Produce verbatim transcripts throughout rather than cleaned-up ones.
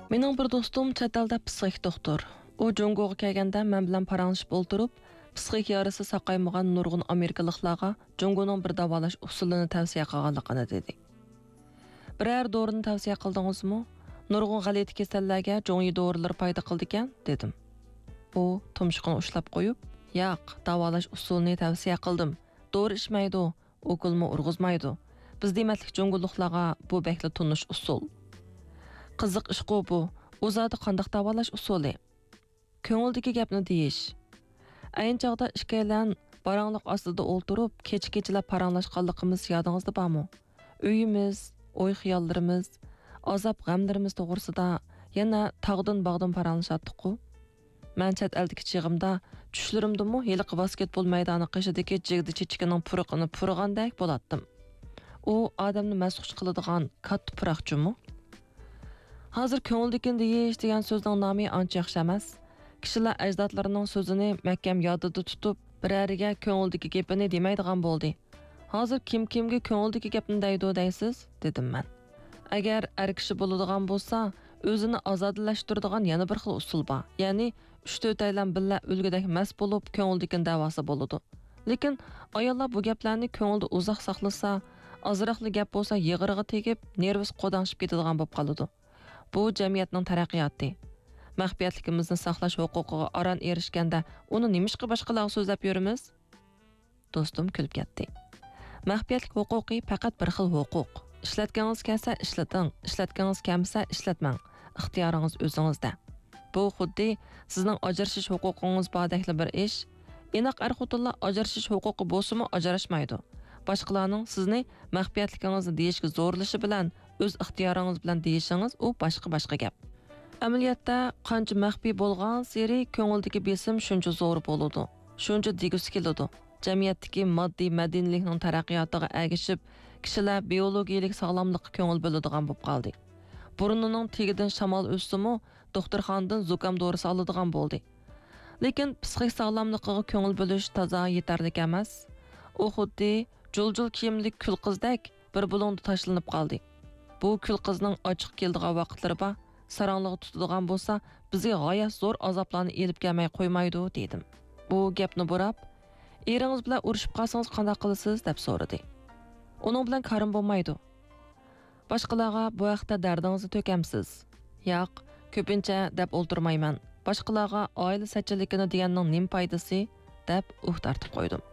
مېنىڭ بىر دوستۇم چەت ئەلدە پسىخىك دوختۇر. ئۇ جۇڭگوغا كەلگەندە مەن بىلەن پاراڭلىشىپ ئولتۇرۇپ، پسىخىك يارىسى ساقايمىغان نۇرغۇن ئامېرىكىلىقلارغا جۇڭگونىڭ بىر داۋالاش ئۇسۇلىنى تەۋسىيە قىلغانلىقىنى دېدى. بىرەر دورىنى تەۋسىيە قىلدىڭىزمۇ؟ نۇرغۇن غەلىتە كېسەللەرگە جۇڭيى دورىلىرى پايدا قىلىدىكەن، دېدىم. ئۇ تۇمشۇقىنى ئۇشلاپ قويۇپ، ياق، داۋالاش ئۇسۇلىنى تەۋسىيە قىلدىم. دورا ئىچمەيدۇ، ئوكۇلمۇ ئۇرغۇزمايدۇ. بىز دېمەتلىك جۇڭگولۇقلارغا بۇ بەكلا تونۇش ئۇسۇل. قىزىق ئىشقۇ بۇ. ئۇ زادى قانداق داۋالاش ئۇسۇلى؟ كۆڭۈلدىكى گەپنى دېيىش. ئەينى چاغدا ئىككىيلەن باراڭلىق ئاستىدا ئولتۇرۇپ، كېچە-كېچىلەپ پاراڭلاشقانلىقىمىز يادىڭىزدا بارمۇ؟ ئۆيىمىز، ئوي-خىياللىرىمىز، ئازاب-غەملىرىمىز توغرىسىدا يەنە تاغدىن-باغدىن پاراڭلىشاتتۇققۇ؟ مەن چەت ئەلدىكى چېغىمدا چۈشلىرىمدىمۇ ھېلىقى ۋاسكېتبول مەيدانى قېشىدىكى جىگدە چېچىكىنىڭ پۇرىقىنى پۇرىغاندەك بولاتتىم. ئۇ ئادەمنى مەستخۇش قىلىدىغان كاتتا پۇراق جۇمۇ. ھازىر كۆڭۈلدىكىنى دېيىش دېگەن سۆزنىڭ نامى ئانچە ياخشى ئەمەس. كىشىلەر ئەجدادلىرىنىڭ سۆزىنى مەھكەم يادىدا تۇتۇپ، بىرەرىگە كۆڭۈلدىكى گېپىنى دېمەيدىغان بولدى. ھازىر كىم كىمگە كۆڭۈلدىكى گەپنى دەيدۇ دەيسىز؟ دېدىم مەن. ئەگەر ئەر كىشى بولىدىغان بولسا، ئۆزىنى ئازادىلەشتۈرىدىغان يەنە بىر خىل ئۇسۇل بار. يەنى ئۈچ-تۆتەيلەن بىللە ئۆلگۈدەك مەست بولۇپ، كۆڭۈلدىكىنى دەۋالسا بولىدۇ. لېكىن ئاياللار بۇ گەپلەرنى كۆڭلىدە ئۇزاق ساقلىسا، ئازراقلا گەپ بولسا يىغىرىغا تېگىپ، نېرۋىسى قوداڭشىپ كېتىدىغان بولۇپ قالىدۇ. بۇ جەمئىيەتنىڭ تەرەققىياتى. مەخپىيەتلىكىمىزنى ساقلاش ھوقۇقىغا ئاران ئېرىشكەندە، ئۇنى نېمىشقا باشقىلارغا سۆزلەپ يۈرىمىز؟ دوستۇم كۈلۈپ كەتتى. مەخپىيەتلىك ھوقۇقى پەقەت بىر خىل ھوقۇق. ئىشلەتكىڭىز كەلسە ئىشلىتىڭ، ئىشلەتكىڭىز كەلمىسە ئىشلەتمەڭ. ئىختىيارىڭىز ئۆزىڭىزدە. بۇ خۇددى سىزنىڭ ئاجرىشىش ھوقۇقىڭىز باردەكلا بىر ئىش. ئىناق ئەر-خوتۇنلار ئاجرىشىش ھوقۇقى بولسىمۇ ئاجراشمايدۇ. باشقىلارنىڭ سىزنى مەخپىيەتلىكىڭىزنى دېيىشكە زورلىشى بىلەن ئۆز ئىختىيارىڭىز بىلەن دېيىشىڭىز ئۇ باشقا، باشقا گەپ. ئەمەلىيەتتە قانچە مەخپىي بولغانسېرى كۆڭۈلدىكى بېسىم شۇنچە زور بولىدۇ، شۇنچە دېگۈسى كېلىدۇ. جەمئىيەتتىكى ماددىي مەدەنىيلىكنىڭ تەرەققىياتىغا ئەگىشىپ، كىشىلەر بىيولوگىيىلىك ساغلاملىققا كۆڭۈل بۆلىدىغان بولۇپ قالدى. بۇرنىنىڭ تېگىدىن شامال ئۆتسىمۇ، دوختۇرخانىدىن زۇكام دورىسى ئالىدىغان بولدى. لېكىن پسىخىك ساغلاملىقىغا كۆڭۈل بۆلۈش تازا يېتەرلىك ئەمەس. ئۇ خۇددى جۇل-جۇل كىيىملىك كۈل قىزدەك بىر بۇلۇڭدا تاشلىنىپ قالدى. بۇ كۈل قىزنىڭ ئاچچىق كېلىدىغان ۋاقىتلىرى بار، ساراڭلىغا تۇتىدىغان بولسا، بىزگە غايەت زور ئازابلارنى ئېلىپ كەلمەي قويمايدۇ، دېدىم. ئۇ گەپنى بۇراپ، ئېرىڭىز بىلەن ئۇرۇشۇپ قالسىڭىز قانداق قىلىسىز؟ دەپ سورىدى. ئۇنىڭ بىلەن كارىم بولمايدۇ. باشقىلارغا بۇ ھەقتە دەردىڭىزنى تۆكەمسىز؟ ياق، كۆپىنچە دەپ ئولتۇرمايمەن. باشقىلارغا ئائىلە سەتچىلىكىنى دېگەننىڭ نېمە پايدىسى؟ دەپ ئۇھ تارتىپ قويدۇم.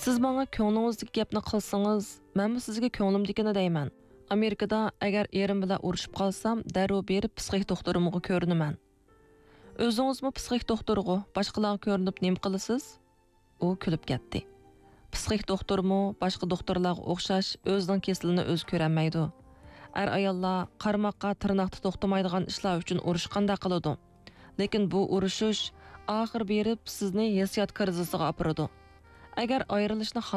سىز ماڭا كۆڭلىڭىزدىكى گەپنى قىلسىڭىز، مەنمۇ سىزگە كۆڭلۈمدىكىنى دەيمەن. ئامېرىكىدا ئەگەر ئېرىم بىلەن ئۇرۇشۇپ قالسام، دەررۇ بېرىپ پسىخىك دوختۇرۇمغا كۆرۈنىمەن. ئۆزىڭىزمۇ پسىخىك دوختۇرغۇ، باشقىلارغا كۆرۈنۈپ نېمە قىلىسىز؟ ئۇ كۈلۈپ كەتتى. پسىخىك دوختۇرمۇ باشقا دوختۇرلارغا ئوخشاش ئۆزىنىڭ كېسىلىنى ئۆزى كۆرەلمەيدۇ. ئەر-ئاياللار قارىماققا تىرناقتا توختىمايدىغان ئىشلار ئۈچۈن ئۇرۇشقاندا قىلىدۇ. لېكىن بۇ ئۇرۇشۇش ئاخىر بېرىپ سىزنى ھېسسىيات كىرىزىسىغا ئاپىرىدۇ. ئەگەر ئايرىلىشنى